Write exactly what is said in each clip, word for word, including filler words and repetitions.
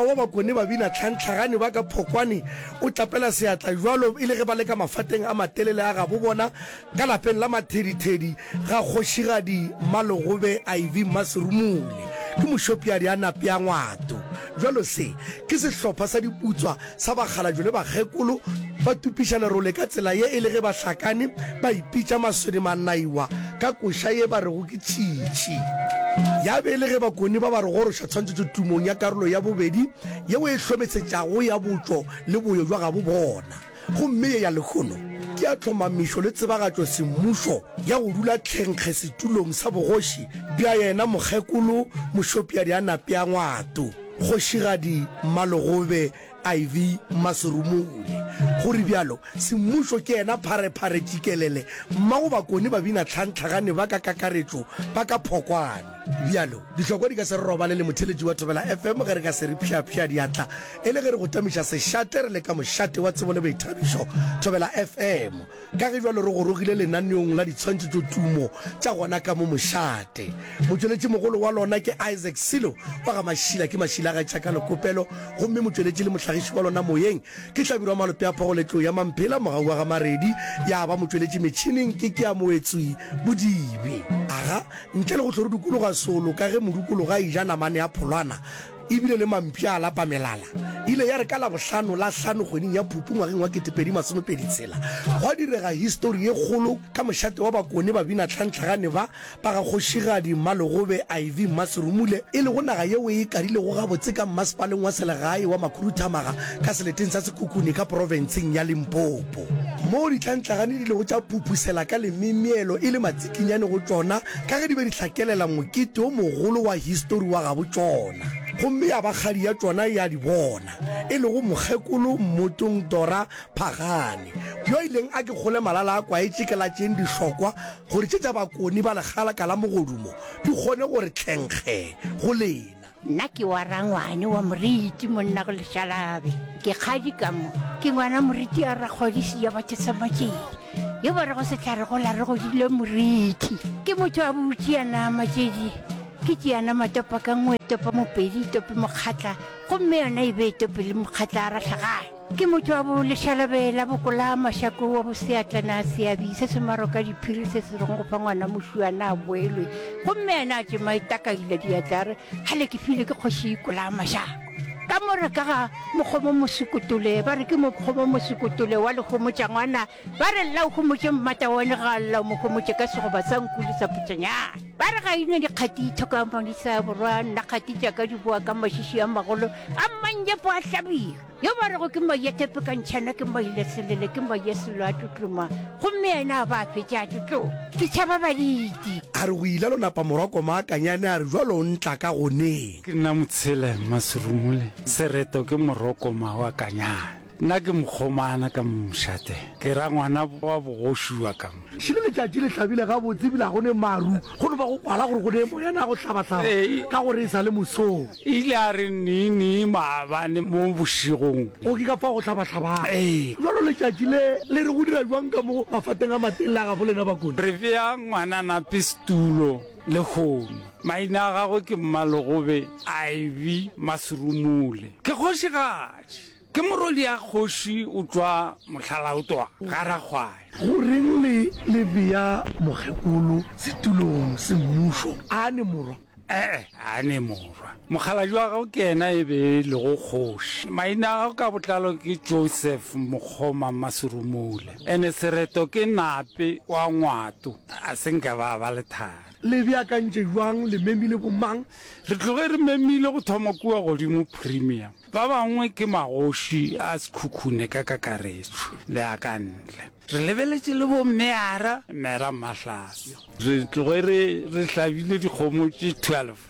wa Bakone ba bina tlhantlhagane ba ka Phokwane o tlapela seatla bjalo e le ge ba le ka mafateng a matelele a gabo bona ka lapeng la Mathedithedi ga kgošigadi Mmalogobe Ivy Mmaserumule ke mošopiadi a napea ngwato. Bjalo se ke sehlopha sa diputswa sa bakgalabje le bakgekolo ba tupiša lerole ka tsela ye e le ge ba hlakane ba ipitša maswedi manaiwa ka koša ye ba rego ke tšitši. Ya be e le ge Bakone ba ba re goroša tshwantšhetšo tumong ya karolo ya bobedi yeo e hlomesetšago ya botšo le boyo bja gabo bona. Gomme ye ya lehono ke ya tlhomamišo le tsebagatšo semmušo ya go dula tlhenkge setulong sa bogoši bja yena mokgekolo Mošopiadi a Napea Ngwato, Kgošigadi Mmalogobe Ivy Mmaserumule. Go re bjalo, semmušo ke yena pharephare tšikelele mmago Bakone babina tlhantlhagane ba ka kakaretšo ba ka Phokwane. Bjalo, dihlokwa di ka se re robale le motheeletši wa Thobela F M ge re ka se re pšhapšha diatla e le ge re go tamiša sešate re le ka mošate wa tsebo le boithabišo Thobela F M. Ka ge bjalo re gorogile lenaneong la ditshwantšhetšotumo tša gona ka mo mošate. Motšweletšimogolo wa lona ke Isaac Silo wa ga Mašila ke Mašila ga Tšaka Lekopelo gomme motšweletši le mohlagiši wa lona moyeng ke Hlabirwa Malope a Phogoletlo ya Mamphela Mogau wa ga Maredi ya ba motšweletši metšhineng ke Keamoetswi Bodibe. Aga, ntle le go hlo re dukologa solo ka ge modukologa a eja namane ya pholwana, E bile le mampša a lapa melala. E ile ya re ka Labohlano la hlano kgweding ya Phupu ngwageng wa kete pedi masome pedi tshela, gwa direga histori ye kgolo ka mošate wa Bakone Babinatlhantlhagane ba ba ga Kgošigadi Mmalogobe Ivy Mmaserumule, e lego naga yeo e ikadilego gabotse ka mmasepaleng wa selegae wa Makhuduthamaga ka seleteng sa Sekhukhune ka profenseng ya Limpopo. Moo ditlhantlhagane di ilego tša phuphusela ka lememielo e le matsikinyane go tšona ka ge di be di hlakelela mokete o mogolo wa histori wa gabo tšona. Gomme ya ba kgadi ya tšona ya di bona, e lego mokgekolo Mmotong Dora Phagane, yo a ileng a ke kgole malala a kwaetše ke la tšeng dihlokwa gore tše tša Bakone ba lekgalaka la mogodumo di kgone gore tlhenkge go lena. Nna ke wa rangwane wa moriti monna go lešalabe ke kgadi ka mo ke ngwana moriti a rakgwadisi ya batho sa matšedi yo ba rego sehlare go la re godile moriti ke motho a butšiana matšedi ke tšeana matopa ka nngwe topa mopedi tope mokgatla gomme yona e be tope le mokgatla a rahlagane Ke motho wa bo lešalabe la bokola mašako wa bo seatlana seabi se se maroka diphiri se se reng go fa ngwana mošuana a boelwe gomme yena a tšema e takaila diatla a re gale ke file ke kgoši kola mašako. Ka mo re ka ga mokgomo mosekotole ba re ke mokgomo mosekotole wa lehomotša ngwana ba re lla o homotše mmatawane ga a lla o mo homotše ka segoba sa nku le sa putšanyana ba re ga ine dikgati thoka monisa borwa nna kgati tša ka di boa ka mašiši a magolo a mmanyepo a hlabira. Yo ba rego ke Maiyetepe ka ntšhana ke Maileselele ke Maiyeselo a tlotloma gomme yena a ba a fetša a tlotloma. Ke tšhaba baditi. A re go ila lo napa morwa koma a kanyane a re jwalo o ntla ka goneng. Ke nna Motshele Mmaserumule, sereto ke Morokoma wa Kanyane. Nna ke mokgomana ka mo mošate, ke rangwana wa bogoši wa ka mo. Šele letšatši le hlabile gabotse ebile ga go ne maru, go no ba go kwala gore go ne moyana wa go hlabahlaba ka gore e sa le mosong. Ile a re nii-nii maabane mo bošegong. O ke ka fao go hlabahlabago. Bjalo letšatši le le re go dira bjang ka mo mafateng a matelele a gabo lena Bakone? Re bea ngwananape setulo lehono. Maina a gagwe ke Mmalogobe Ivy Maserumule. Ke kgošigadi. Ke morwedi-a kgoši o tšwa Mohlalaotwa ga Rakgwaya. Go reng le le bea mokgekolo setulong semmušo? A ne morwa? Ee, a ne morwa. Mokgalabje wa gagwe ke yena e be e lego kgoši. Maina a gagwe ka botlalo ke Joseph Mokgoma Maserumule. Ene sereto ke Nape wa Ngwato. A se nka ba ba lethari. Le beakantše bjang? Le memile bomang? Re tloge re memile go thoma kua godimo Premier. Ba bangwe ke magoši a Sekhukhune ka kakaretšo le a ka ntle. Re lebeletše le bo Meara, Mera Mahlase. Re tloge re re hlabile dikgomo tše twelve.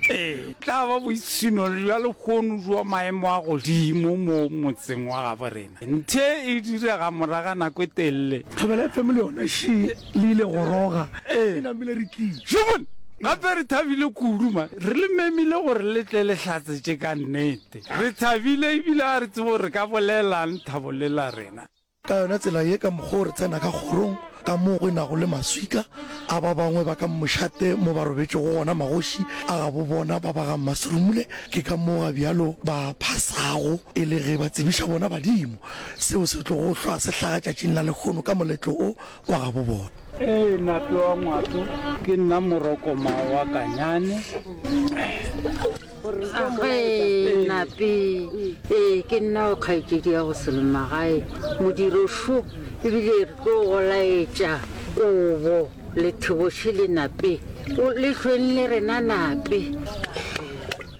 Ee, tla ba boipshino bja lehono bja maemo a godimo mo motseng wa gabo rena. Nthe e direga moraga nako e telele. Thobela F M le yona še le ile goroga, e namile re tlile. Šobone! Gape re thabile kudu ma re le memile gore le tle le hlatsetše ka nnete. Re thabile ebile ga re tsebe gore re ka bolelang thabo le la rena. Ka yona tsela ye, ka mokgwa wo re tsena ka kgorong, ka moo go nago le maswika a ba bangwe ba ka mošate mo ba robetšego gona magoši a gabo bona ba ba ga Mmaserumule. Ke ka moo ga bjalo ba phasago e le ge ba tsebiša bona badimo seo se tlogo hlwa se hlaga tšatšing la lehono ka moletlo o wa gabo bona. Ee, Nape wa Ngwato, ke nna Morokoma wa Kanyane. Agee, Nape, ee, ke nna o kgaetšedi ya go Selemagae, modiro šo, ebile re tlo go laetša kobo le theboše le Nape, o le hlweng le rena Nape.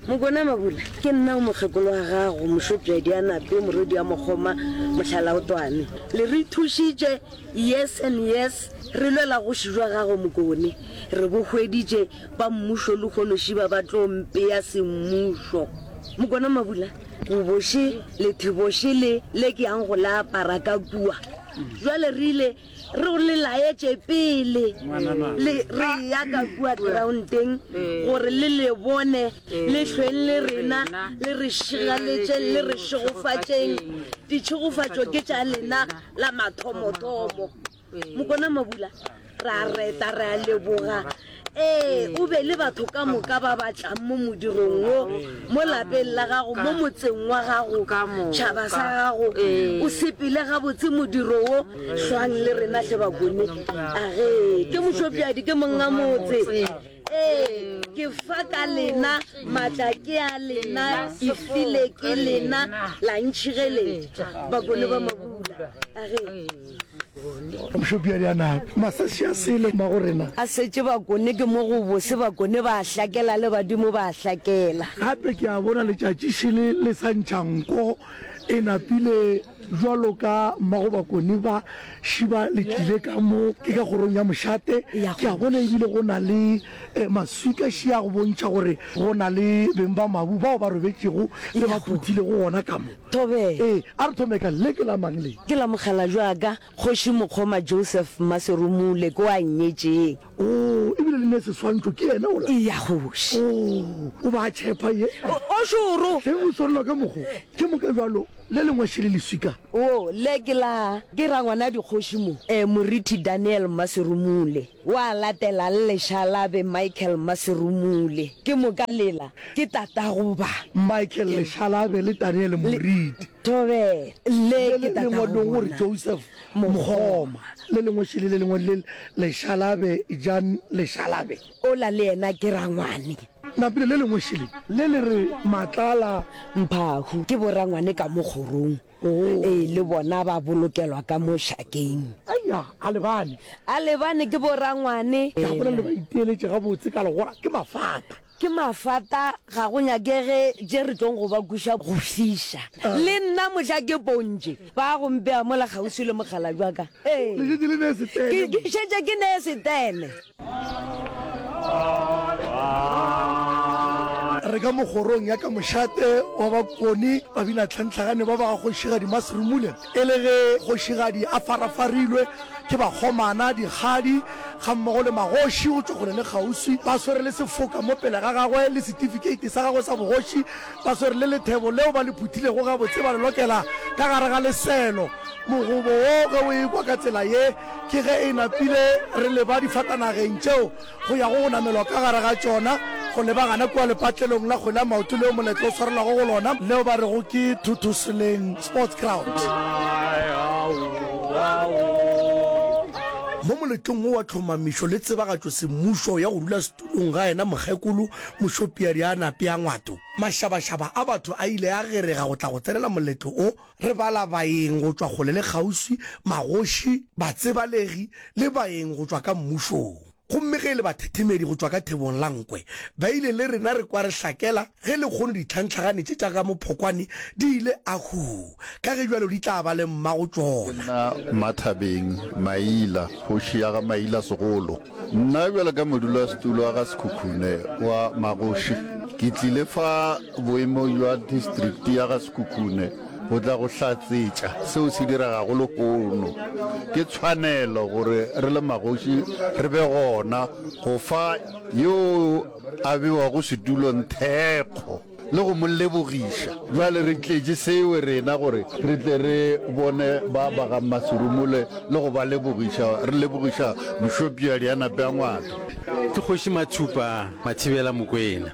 Mokona Mabula, ke nna o mokgekolo wa gago, Mošopšadi a Nape, morwedi wa Mokgoma, Mohlalaotwane. Le re thušitše, yes and yes, re lwela goši jwa gago Mokone. Re bo hweditše, ba mmušo lehono šiba ba tlo mpea semmušo. Mokona Mabula, koboše le theboše le le ke yang go le apara ka kua. Jwale re ile re go le laetše pele le re ya ka kua groundeng gore le le bone le hlweng le rena le re šigaletšeng le re šegofatšeng. Ditšhegofatšo ke tša lena la mathomothomo. Mokona Mabula, re a reta, re a leboga. Ee, o be le batho ka moka ba ba tlang mo modirong wo, mo lapeng la gago, mo motseng wa gago, tšhaba sa gago. O sepele gabotse modiro wo, hlwang le rena hle Bakone. Age, ke Mošopšadi, ke monga motse. Ee, ke fa ka lena, maatla ke a lena, ke file ke lena, la ntšhireletša. Bakone ba Mabula. Age. Mošopšadi a Nape, masasi a sele mmago rena. A setše Bakone ke mo go bose, Bakone ba a hlakela le badimo ba a hlakela. Gape ke a bona letšatši šele le sa ntšha nko e napile bjalo ka mmago Bakone ba šiba le tlile ka mo ke ka kgorong ya mošate. Ke a bona ebile go na le maswika šia go bontšha gore go na le beng ba mabu bao ba robetšego le ba phuthilego gona ka mo. Thobela. Ee, a re thome ka le ke la mang le? Ke la mokgalabje wa ka, Kgoši Mokgoma Joseph Mmaserumule, ke wa nnyetšeng. Oo, ebile le ne seswantšho, ke yena ola? Eya, kgoši. Oo, o ba a tšhepa ye. O, o šoro. Hleng o swanelwa ka mokgo. Ke moka bjalo, le lengwe šele leswika. Oo, le ke la, ke rangwana dikgoši mo. E, Moriti Daniel Mmaserumule. Wa latelang Lešalabe Michael Mmaserumule. Ke moka lela, ke tatago ba. Michael Lešalabe le Daniel Moriti. Thobela, le ke Le lengwe tatago le gore bona. Joseph Mokgoma. Le lengwe šele le lengwe le Lešalabe Jan Lešalabe. Ola le yena ke rangwane. Napile le lengwe šele le le re Matlala. Mphahu, ke borangwane ka mo kgorong. Ee, le bona ba bolokelwa ka mo šakeng. Eya, a lebane. A lebane ke borangwane. Ke a bona le ba iteeletše gabotse ka legora, ke mafata. Ke mafata, ga go nyakege tše re tlong go ba kweša go fiša. Le nna mohla ke pontše, ba go mpea mola kgauswi le mokgalabje wa ka. Ee. Le šetše le nee setene. Ke, ke šetše ke nee setene. Re ka mo kgorong ya ka mošate wa Bakone, babinatlhantlhagane ba ba ga Kgošigadi Maserumule, e le ge kgošigadi a farafarilwe ke bakgomana, dikgadi gammogo le magoši go tšwa kgole le kgauswi, ba swere le sefoka mo pele ga gagwe le setifikeiti sa gagwe sa bogoši, ba swere le lethebo leo ba le phuthilego gabotse ba le lokela ka gare ga leselo. Mogobo wo ge o ekwa ka tsela ye, ke ge e napile re leba difatanageng tšeo go yago go namelwa ka gare ga tšona go leba gana kua lepatlelong la kgwele ya maoto leo moletlo o swarelwago go lona, leo ba rego ke Thuthuseleng Sports Ground. Mo moletlong wo wa tlhomamišo le tsebagatšo semmušo ya go dula setulong ga yena mokgekolo Mošopiadi a Nape a Ngwato, mašabašaba a batho a ile a gerega go tla go tsenela moletlo o Re bala baeng go tšwa kgole le kgauswi, magoši, batsebalegi le baeng go tšwa ka mmušong. Gomme ge e le bathethemedi go tšwa ka thebong la nkwe, ba ile le rena re kwa re hlakela ge lekgono ditlhantlhagane tše tša ka Mophokwane di ile ahuu, ka ge bjalo di tla ba le mmago Ke tšona. nna Mmathabeng Maila, kgoši ya ga Maila Segolo. Nna bjalo ka modulasetulo wa ga Sekhukhune wa magoši, ke tlile fa boemong bja distrikti ya ga Sekhukhune go tla go hlatsetša seo se diregago lehono. Ke tshwanelo gore re le magoši re be gona go fa yo a bewago setulong thekgo. le go mo lebogiša. Bjale re tletše seo rena gore re tle re bone ba ba ga Mmaserumule le go ba lebogiša, re lebogiša Mošopšadi a nape a Ngwato. Ke Kgoši Mathupa Mathibela Mokwena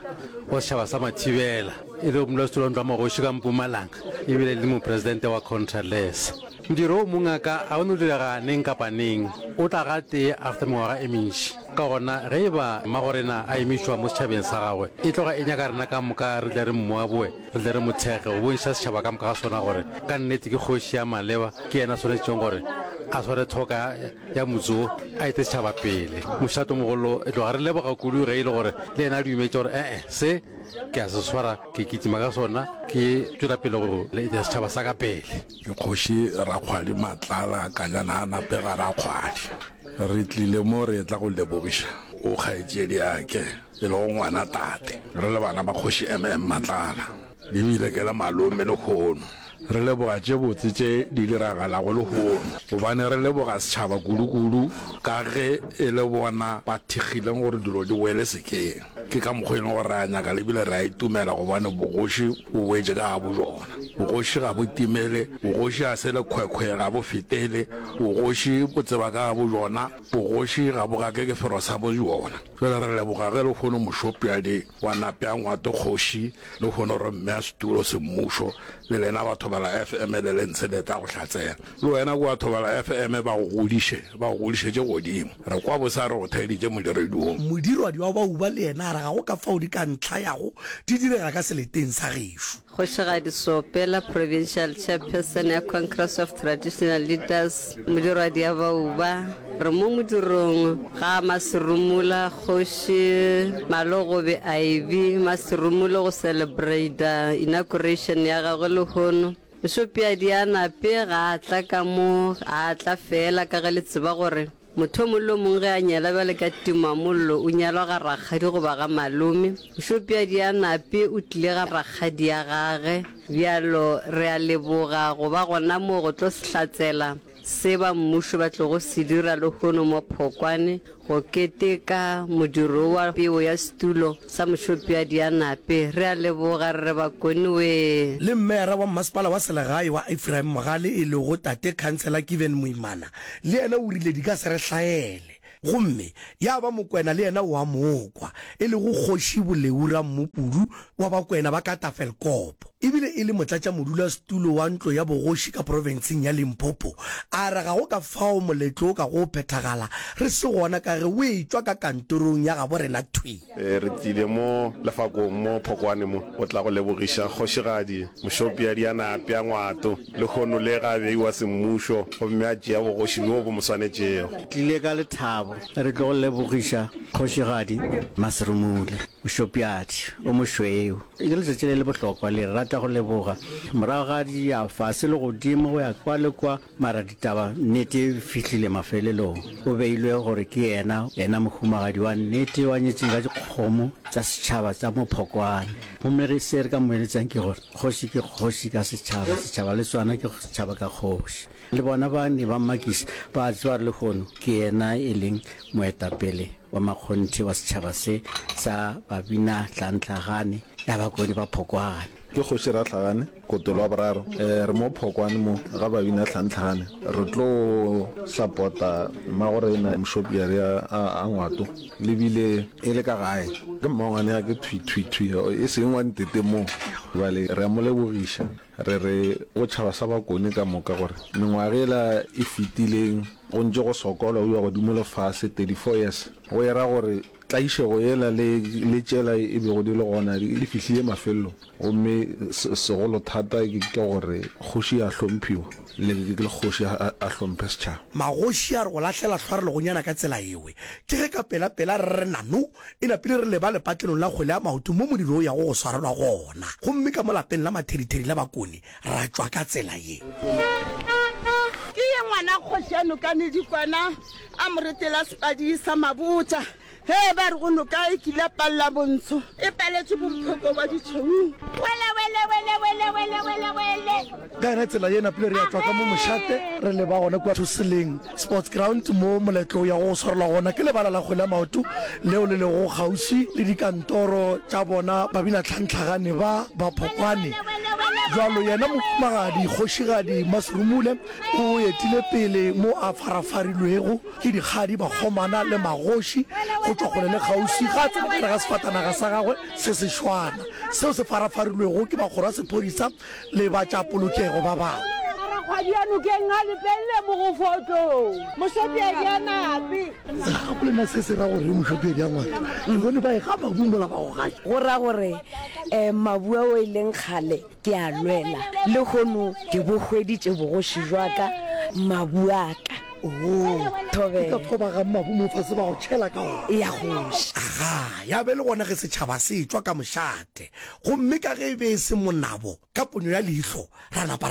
wa setšhaba sa Mathibela, e lego modulasetulo wa Ntlo ya Magoši ka Mpumalanga ebile e le mopresidente wa Contralesa. Modiro wo mongaka ga o no direga neng kapa neng, o tla gatee after mengwaga e mentši. Ka gona, ge e ba mmagorena a emišwa mo setšhabeng sa gagwe, e tloga e nyaka rena ka moka re tle re mmoaboe, re tle re mo thekge, go bontšha setšhaba ka moka ga sona gore ka nnete ke kgoši ya maleba, ke yena a swanetšego gore a sware thoka ya motse wo, a ete setšhaba pele. Mošatomogolo, e tloga re leboga kudu ge e le gore le yena a dumetše gore e-e, se ke a se swara, ke kitima ka sona, ke tšwela pele go eta setšhaba sa ka pele. Ke Kgoši Rakgwadi Matlala Kanyana a Napega Rakgwadi. Re tlile mo re etla go lebogiša o kgaetšediake e lego ngwana tate. Re le bana ba Kgoši M M Matlala, ebile ke le malome lehono. Re leboga tše botse tše di diragalago lehono, gobane re leboga setšhaba kudu-kudu ka ge e le bona ba thekgileng gore dilo di boele sekeng. Ke ka mokgwa e leng gore re a nyaka le bile re a itumela gobane bogoši bo boetše ka gabo bjona. Bogoši ga bo timele, bogoši ga se lekhwekhwe, ga bo fetele, bogoši bo tseba ka gabo bjona, bogoši ga bo gake ke fero sa bo bjona. Bjale re leboga ge lehono Mošopjadi wa Napea Ngwato Kgoši, lehono re mmea setulo semmušo, le lena ba Thobela F M le le ntshe le tla go hlatsela. Le wena kua Thobela F M ba go godiše, ba go godišetše godimo. Re kwa bose a re go theeditše modirediong. Modirwadi wa Bauba le yena a re ga go ka fao di ka ntlhayago di direga ka seleteng sa gešo. Kgošigadi Sopela, Provincial Chairperson ya Congress of Traditional Leaders, Modirwadi ya Bauba, re mo modirong ga Maserumula, Kgoši Malogobe Ivy Maserumule go celebrata inauguration ya gagwe lehono. Mošopiadi a nape ga a tla ka mo, a tla fela ka ge le tseba gore motho o mongwe le o mongwe ge a nyala bjale ka timamollo o nyalwa ga rakgadi goba ga malome. Mošopiadi a nape o tlile ga rakgadi ya gage. Bjalo re a leboga go ba gona mo go tlo hlatsela se ba mmušo ba tlogo se dira lehono mo Phokwane go keteka modiro wa peo ya setulo sa Mošopiadi a nape. Re a leboga re re Bakone wee. Le Mmeara wa Mmasepala wa Selegae wa Ephraim Mogale e lego Tate Khansela Given Moimana le yena o rile di ka se re hlaele. Gomme ya ba Mokwena le yena o a mo kwa, e lego Kgoši Boleu Rammopudu wa Bakwena ba ka Tafelkop, ebile e le motlatšamodulasetulo wa ntlo ya bogoši ka profenseng ya Limpopo, a re ga go ka fao moletlo o kago phethagala re se gona ka ge o etšwa ka kantorong ya gabo rena thwi. Re tlile mo lefakong mo Phokwane mo go tla go lebogiša Kgošigadi Mošopiadi a Napya Ngwato lehono le ga a beiwa semmušo gomme a tšea bogoši bjo bo mo swanetšego. Tlile ka lethabo re tlo go lebogiša Kgošigadi Maserumule Mošopiadi o mošweu. Ke letšatši le le bohlokwa le, re rata go leboga. Morago ga di ya fase le godimo go ya kwa le kwa, mara ditaba nnete e fihlile mafelelong. O beilwe gore ke yena, yena mohumagadi wa nnete wa nyetšeng ka dikgomo tša setšhaba tša mo Phokwane. Gomme re se re ka mo eletšang ke gore kgoši ke kgoši ka setšhaba, setšhaba le sona ke setšhaba ka kgoši. Le bona ba ne ba mmakiša, ba tseba gore lehono ke yena e leng moetapele wa makgonthe wa setšhaba se sa Babina Tlantlagane ya Bakone ba Phokwane. Ke Kgoši Rahlagane, Kotolo wa boraro. Re mo Phokwane mo ga Babina Tlantlagane. Re tlo sapota mmagorena Mošopiari a Ngwato le bile e le ka gae. Ke mmangwane ya ke thwi thwi thwi e seng wa ntete mo. Bjale re a mo lebogiša. Re re go tšhaba sa Bakone ka moka gore mengwaga yela e fetileng go ntše go sokolwa go iwa godimo le fase, thirty four years, go era gore tlaišego yela le le tšela e bego di le gona di fihlile mafelelong. Gomme segolo thata ke gore kgoši ya hlomphiwa le le kgoši a a hlomphe setšhaba. Magoši a re go lahlela hlwarelegonyana ka tsela ewe, ke ge ka pelapela re re nano e napile re leba lepatlelong la kgwele ya maoto mo modiro o yago go swarelwa gona. Gomme ka mo lapeng la mathedithedi la Bakone ra tšwa ka tsela ye. Ke ye ngwana kgoši a nokane dikwana, a mo retela sepadi sa mabotja. Ge ba re go noka e kile ya palela bontsho, e paletše bomphoko ba ditšhweung. Wele, wele, wele, wele, wele, wele, wele. Ka yona tsela ye napile re ya tšwa ka mo mošate re leba gona kua Thoseleng Sports Ground mo moletlo o yago go swarelwa gona. Ke lebala la kgwele ya maoto leo le lego kgauswi le dikantoro tša bona babinatlhantlhagane ba ba Phokwane. Bjalo yena mohumagadi Kgošigadi Maserumule o etile pele mo a farafarilwego ke dikgadi, bakgomana le magoši go tšwa kgole le kgauswi. Ga a tsena ka gare ga sefatanaga sa gagwe se sešwana seo se farafarilwego ke bakgoro ba sephodisa le ba tša polokego ba bangwe. Rakgwadi a nokeng a lepelle mogofotlong. Mošopiedi a nape. Gape na se se ra gore mošopiedi a ngwana? Ke bone ba e ga mabu mola ba go gaša. Go ra gore mabu ao e leng kgale ke a lwela, lehono ke bo hweditše bogoši bja ka, mabu a ka. Oo, Thobela. Ke ka fao ba gang mabu mo fase ba go tšhela ka ona. Ya kgoši. Agaa, ya be le gona ge setšhaba se etšwa ka mošate. Gomme ka ge e be e se monabo, ka ponyo ya leihlo ra napa ra.